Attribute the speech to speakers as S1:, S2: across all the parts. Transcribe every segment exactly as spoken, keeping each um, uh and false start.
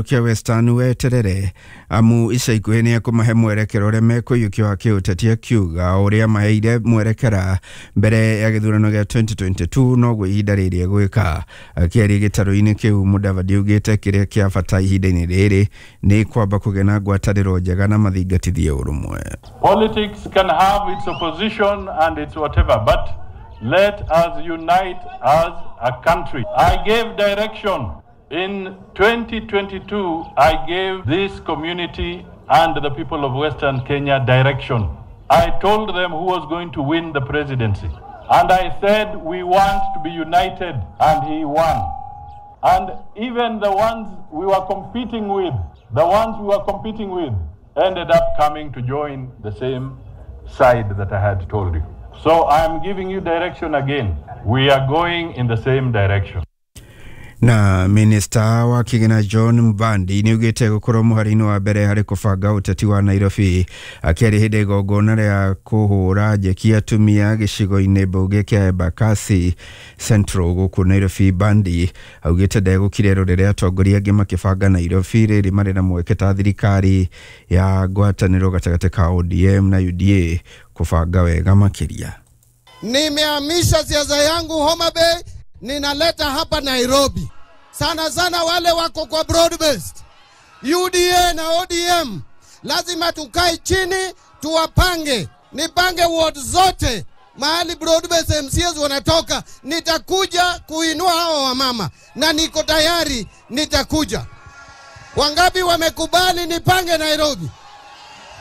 S1: Kĩa Western weterere amu ica ikuhĩ nĩ ekũmahe mwerekera ũrĩa mekũiyũkia wa kĩũteti, akiuga ũrĩa maheire mwerekera mbere ya gĩthurano gĩa twenty twenty-two noguo ihinda rĩrĩ egwĩka. Akĩaria gĩtarũ-inĩ kĩu, Mudavadi augĩte kĩrĩa kĩa bata ihinda-inĩ rĩrĩ nĩ kwamba kũgĩa na ngwatanĩro njega na mathingatithie ũrũmwe.
S2: Politics can have its opposition and its whatever, but let us unite as a country. I gave direction. In twenty twenty-two, I gave this community and the people of Western Kenya direction. I told them who was going to win the presidency. And I said we want to be united, and he won. And even the ones we were competing with, the ones we were competing with, ended up coming to join the same side that I had told you. So I am giving you direction again. We are going in the same direction.
S1: Na minista wa kĩgĩna John Mbadi nĩ augĩte gũkorwo mũhari-inĩ wa mbere harĩ kũbanga ũteti wa Nairobi. Akĩaria hĩndĩ ya igongona rĩa kũhũra njeki atumia gĩcigo-inĩ mbunge kĩa Embakasi Central gũkũ Nairobi, Mbadi augĩte ndegũkira rĩrĩa atongoria angĩ makĩbanga Nairobi rĩrĩ marĩ na mweke ta thirikari ya ngwatanĩro gatagatĩ ka O D M na U D A kũbanga wega makĩria.
S3: Nimehamisha siasa yangu Homa Bay, ninaleta hapa Nairobi. Sana sana wale wako kwa broad based U D A na O D M, lazima tukae chini tuwapange, nipange ward zote mahali broad based M C As wanatoka. Nitakuja kuinua hawa wamama na niko tayari, nitakuja. Wangapi wamekubali nipange Nairobi?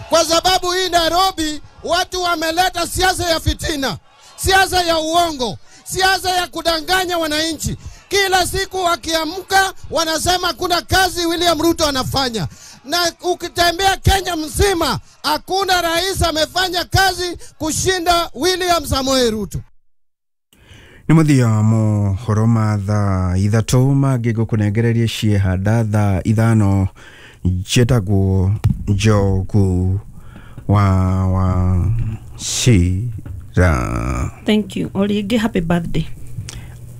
S3: Kwa sababu hii Nairobi watu wameleta siasa ya fitina, siasa ya uongo, siasa ya kudanganya wananchi. Kila siku wakiamka wanasema kuna kazi William Ruto anafanya, na ukitembea Kenya mzima hakuna rais amefanya kazi kushinda William Samoei Ruto.
S1: Nĩ mũthia mohoro ma thaa ithatũ mangĩ ngũkũnengereria ciehanda thaa ithano. Njĩtagwo Njogu wa wa Cira.
S4: Thank you. O rĩngĩ, happy birthday.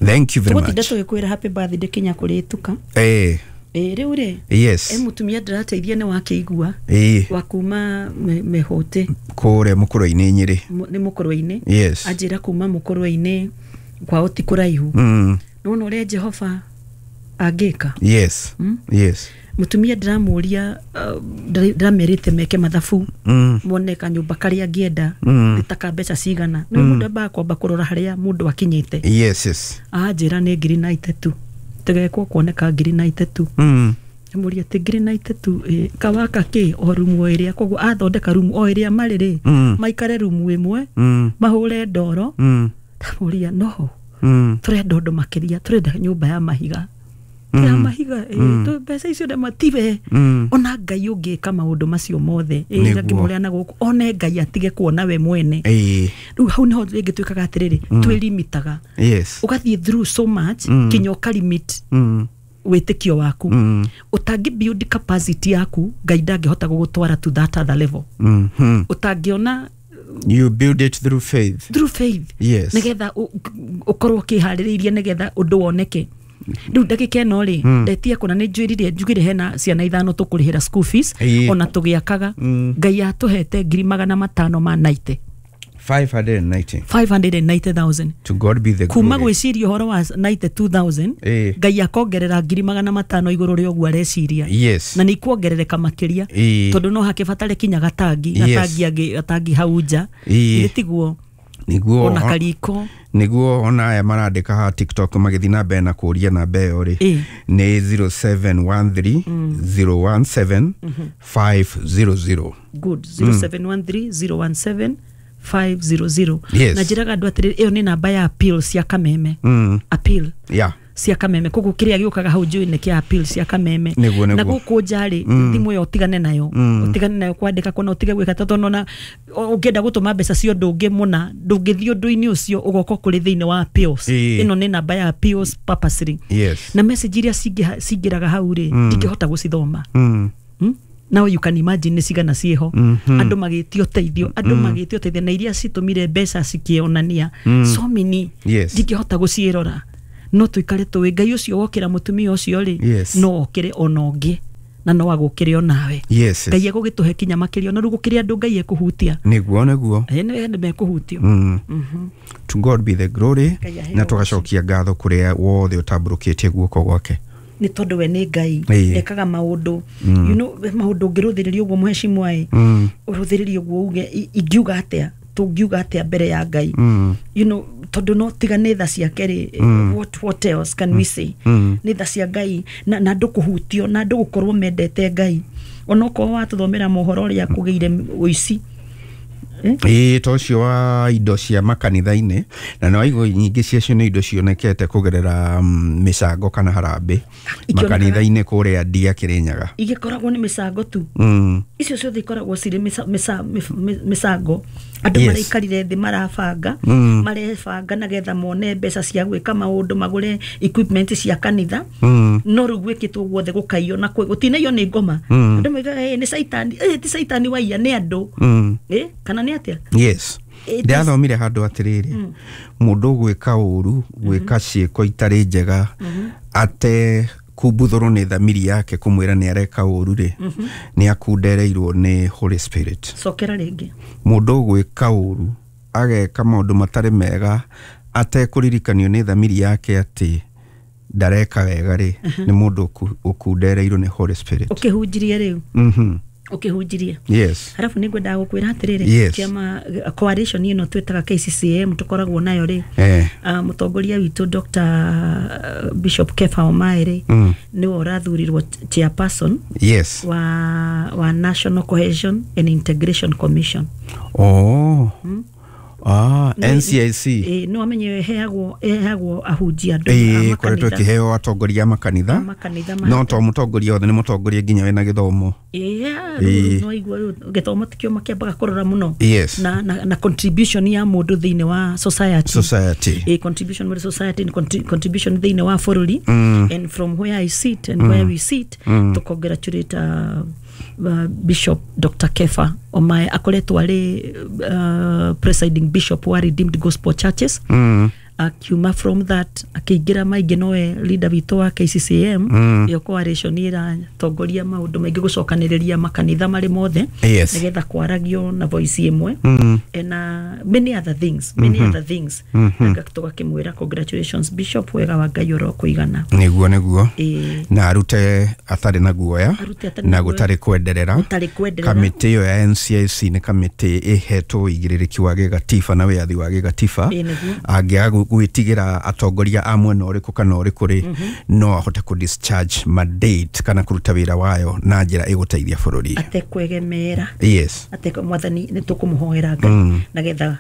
S1: Thank you very
S4: Tũgũtinda
S1: much.
S4: Tũgĩkwĩra happy birthday kinya kũrĩtuka.
S1: Eh.
S4: Ĩ rĩu rĩ,
S1: yes
S4: e mũtumia ndĩrateithia nĩ wakĩigua
S1: eh
S4: wa kuma me- mĩhũtĩ
S1: Kũrĩa mũkũrwe-inĩ Nyĩrĩ.
S4: Mu- nĩ mũkũrwe-inĩ.
S1: Yes
S4: anjĩra kuma mũkũrwe-inĩ kwao ti kũraihu.
S1: mm.
S4: Nĩwona ũrĩa Jehova angĩka?
S1: yes
S4: Mm?
S1: Yes.
S4: Mũtumia ndĩramũria, uh, ndĩra- ndĩramerĩte meke mathabu
S1: mm.
S4: mone kanyũmba karĩa angĩenda
S1: Mm.
S4: nĩ ta ka mbeca cigana. Nĩ mũndũ ambaga kwamba kũrora harĩa mũndũ akinyĩte.
S1: yes yes
S4: Anjĩra nĩ ngiri na itatũ tegekwo kuoneka ngiri na itatũ.
S1: mm.
S4: Mũria atĩ ngiri na itatũ ĩ, kawaka kĩ o rumu o ĩrĩa koguo athondeka rumu o ĩrĩa marĩ rĩ,
S1: Mm.
S4: maikare rumu ĩmwe,
S1: Mm.
S4: mahũre ndoro.
S1: Mm.
S4: Ndamũria no
S1: Mm.
S4: tũrenda ũndũ makĩria, tũrenda nyũmba ya mahiga ya mahiga ĩ, tũ- mbeca icio ndamatibe.
S1: Mm.
S4: Ona Ngai ũngĩka maũndũ macio mothe ĩ,
S1: Nĩguo.
S4: ngĩmũrĩa na gũkũ one Ngai atige kuona we mwene.
S1: Ĩĩ.
S4: Rĩu hau nĩho rĩngĩ twĩkaga atĩrĩrĩ, twĩlimitaga.
S1: Yes
S4: ũgathiĩ through so much
S1: Mm.
S4: kinya ũkalimit
S1: mm.
S4: wĩtĩkio waku.
S1: Mm.
S4: Ũtangĩ build capacity yaku, Ngai ndangĩhota gũgũtwara to that other level.
S1: Mm -hmm.
S4: Ũtangĩona.
S1: You build it through faith.
S4: Through faith.
S1: Yes.
S4: Nĩgetha ũ- ũkorwo ũkĩharĩrĩirie nĩgetha ũndũ woneke. Rĩu ndagĩka ĩno rĩ, ndetia kũna nĩ njwĩrire njugire hena ciana ithano tũkũrĩhĩra school fees.
S1: Ĩĩ.
S4: Ona tũgĩakaga,
S1: Mm.
S4: Ngai atũhete ngiri magana matano ma naite.
S1: five hundred ninety.
S4: five hundred ninety thousand.
S1: To God be the
S4: Kuma
S1: glory.
S4: gwĩciria ũhoro wa ninety-two thousand,
S1: Ĩĩ.
S4: Ngai akongerera ngiri magana matano igũrũ rĩa ũguo areciria.
S1: Yes
S4: na nĩ ikuongerereka makĩria,
S1: Ĩĩ.
S4: tondũ no hakĩbatare kinya gatangi.
S1: Yes.
S4: Gatangi angĩ gatangi hau nja.
S1: Ĩĩ.
S4: Githĩ tiguo?
S1: Niguo.
S4: Ona kariko.
S1: Niguo, ona aya marandĩka ha TikTok magĩthiĩ na mbere na kũria namba ĩyo rĩ,
S4: Ĩĩ.
S1: nĩ zero seven one three zero one seven five zero zero.
S4: Good, zero seven one three zero one seven five zero zero.
S1: Yes.
S4: Na njĩraga andũ atĩrĩrĩ, ĩyo nĩ namba ya appeal cia Kameme.
S1: Mm.
S4: Appeal
S1: yeah
S4: cia Kameme, koguo kĩrĩa gĩũkaga hau njũĩ nĩ kĩa appeal cia Kameme.
S1: Nĩguo,
S4: Na
S1: nĩguo.
S4: gũkũ nja rĩ, thimũ ĩyo ũtigane nayo, ũtigane nayo kwandĩka kũna, ũtige gwĩka, tondũ ona ũngĩenda gũtũma mbeca cia ũndũ ũngĩ mũna, ndũngĩthiĩ ũndũ-inĩ ũcio, ũgoka kũrĩ thĩinĩ wa appeals.
S1: Ĩĩ.
S4: Ĩno nĩ namba ya appeals purposely.
S1: Yes
S4: na message iria cingĩha- cingĩraga hau rĩ, ndingĩhota gũcithoma.
S1: mm.
S4: Hmm? Now you can imagine nĩ cigana ciĩho, andũ magĩtio ũteithio, andũ magĩtio ũteithio, na iria citũmire mbeca cikĩonania so many.
S1: Yes.
S4: Ndingĩhota gũciĩrora, no tũikare tũĩ Ngai ũcio wokĩra mũtumia ũcio rĩ,
S1: Yes.
S4: no okĩre ona ũngĩ. Na no agũkĩre onawe.
S1: Yes.
S4: Ngai egũgĩtũhe kinya makĩria, ona rĩu gũkĩrĩ andũ Ngai ekũhutia.
S1: Nĩguo, nĩguo.
S4: Ĩ, nĩ andũ mekũhutio.
S1: Mm. To God be the glory.
S4: Ngai aheo.
S1: Na tũgacokia ngatho kũrĩa wothe ũtambũrũkĩtie guoko gwake.
S4: Nĩ tondũ we nĩ Ngai.
S1: Ĩĩ.
S4: Ekaga maũndũ, you know maũndũ ũngĩrũthĩrĩria ũguo, mũhecimwa ĩ,
S1: Mm.
S4: ũrũthĩrĩrie ũguo uge, i- ingiuga atĩa, tũngiuga atĩa mbere ya Ngai?
S1: Mm.
S4: you know tondũ no tiga nĩ tha ciake rĩ, what, what else can we say?
S1: Mm.
S4: Nĩ tha cia Ngai na, na andũ kũhutio na andũ gũkorwo mendete Ngai, onokorwo watũthomera mohoro ũrĩa kũgĩire ũici.
S1: Ĩĩ, ta ũcio wa indo cia makanitha-inĩ, na nĩ waigua nyingĩ ciacio nĩ indo cionekete kũgerera mm, mĩcango kana harambĩ
S4: Ikĩonekaga-
S1: makanitha-inĩ kũrĩa Ndia, Kĩrĩnyaga.
S4: Igĩkoragwo nĩ mĩcango tu.
S1: Mm.
S4: Icio ciothe ikoragwo cirĩ mĩca- mĩca- mĩf- mĩ- mĩcango andũ
S1: Yes.
S4: maraikarire thĩ marabanga,
S1: Mm.
S4: marebanga nagetha mone mbeca cia gwĩka maũndũ, magũre equipment cia kanitha.
S1: Mm.
S4: No rĩu gwĩkĩtwo guothe gũkaiywo na kwĩ- gũtinaiywo nĩ ngoma.
S1: Mm.
S4: Andũ moigaga, "Eh, nĩ caitani." Eh, ti caitani waiya, nĩ andũ.
S1: Mm.
S4: Eh, kana nĩ atĩa?
S1: Yes.
S4: It is-
S1: Ndĩrathomire handũ atĩrĩrĩ, mũndũ ũgwĩka ũru, gwĩka ciĩko itarĩ njega, ate kumbuthũrwo nĩ thamiri yake kũmwĩra nĩ areka ũru rĩ, nĩ akundereirwo nĩ Holy Spirit.
S4: Cokera rĩngĩ.
S1: Mũndũ ũgwĩka ũru, ageka maũndũ matarĩ mega, atekũririkanio nĩ thamiri yake atĩ ndareka wega rĩ, nĩ mũndũ ũku- ũkundereirwo nĩ Holy Spirit.
S4: Ũkĩhunjirie rĩu.
S1: Mhm.
S4: Ũkĩhunjirie.
S1: Yes.
S4: Harabu nĩ ngwendaga gũkwĩra atĩrĩrĩ,
S1: Yes.
S4: kĩama coalition ĩno twĩtaga K C C M tũkoragwo nayo rĩ,
S1: eh.
S4: uh, mũtongoria witũ Doctor Bishop Kefa Omae rĩ,
S1: Mm.
S4: nĩwe ũrathurirwo chairperson
S1: yes
S4: wa, wa National Cohesion and Integration Commission.
S1: Oh. Ah, N C I C.
S4: Ĩ, nĩ wamenye ĩheagwo ĩheagwo ahunjia, andũ a
S1: Ĩĩ, koretwo
S4: makanitha.
S1: ĩkĩheo atongoria a makanitha.
S4: A makanitha ma-
S1: No to mũtongoria othe, nĩ mũtongoria nginya wĩna gĩthomo.
S4: Ĩĩ,
S1: Ĩĩ.
S4: rĩu no igua rĩu gĩthomo tikĩo makĩambaga kũrora mũno.
S1: Yes.
S4: na, na, na contribution ya mũndũ thĩinĩ wa society.
S1: Society.
S4: A contribution with society and contri contribution thĩinĩ wa bũrũri.
S1: Mm.
S4: And from where I sit and mm. where we sit, mm. to congratulate uh, uh, Bishop Doctor Kefa Omae, akoretwo arĩ uh, presiding bishop wa Redeemed Gospel Churches.
S1: Mm.
S4: Akiuma from that akĩingĩra maingĩ, nowe leader witũ wa K C C M.
S1: Mm.
S4: Ĩyo coalition ĩratongoria maũndũ maingĩ, gũcokanĩrĩria makanitha marĩ mothe,
S1: Yes.
S4: nĩgetha kwaragio na voice ĩmwe,
S1: Mm.
S4: and uh, many other things, many other things. mm -hmm. Tũgakĩmwĩra congratulations, bishop, wega wa Ngai ũrokũigana.
S1: Nĩguo, nĩguo.
S4: Ĩĩ.
S1: Na arute atarĩ na guoya.
S4: Arute atarĩ
S1: na
S4: na guoya.
S1: Gũtarĩ kwenderera.
S4: Gũtarĩ kwenderera.
S1: Kamĩtĩ ĩyo ya N C I C nĩ kamĩtĩ ĩhetwo ũigĩrĩrĩki wa gĩgatiba na wĩyathi wa gĩgatiba.
S4: Ĩĩ, nĩguo.
S1: Angĩaga gwĩ- gwĩtigĩra atongoria a mwena ũrĩkũ kana ũrĩkũ rĩ, no ahote kũ discharge mandate kana kũruta wĩra wayo na njĩra ĩgũteithia bũrũri.
S4: Atekwegemera.
S1: Yes.
S4: Atekwe mwathani, nĩ tũkũmũhoera Ngai mm. nagetha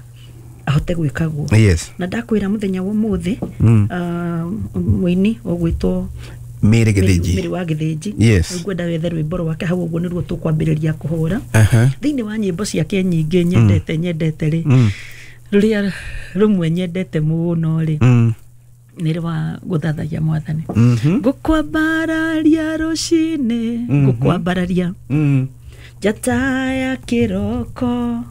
S4: ahote gwĩka guo.
S1: Yes.
S4: Na ndakwĩra mũthenya wa ũmũthĩ, mm. uh, mũini ũgwĩtwo
S1: Mĩrĩ
S4: Mĩrĩ
S1: Gĩthĩnji.
S4: wa Gĩthĩnji.
S1: Yes.
S4: Rĩu ngwenda wethe rwĩmbo rwake hau ũguo, nĩruo tũkwambĩrĩria kũhũra.
S1: Aha.
S4: Thĩinĩ wa nyĩmbo ciake nyingĩ nyendete nyendete rĩ, rũrĩa rũmwe nyendete mũno rĩ,
S1: Mm.
S4: nĩ rwa gũthathaia mwathani.
S1: Mhm.
S4: Ngũkwambararia rũcinĩ, ngũkwambararia
S1: Mm.
S4: njata ya kĩroko.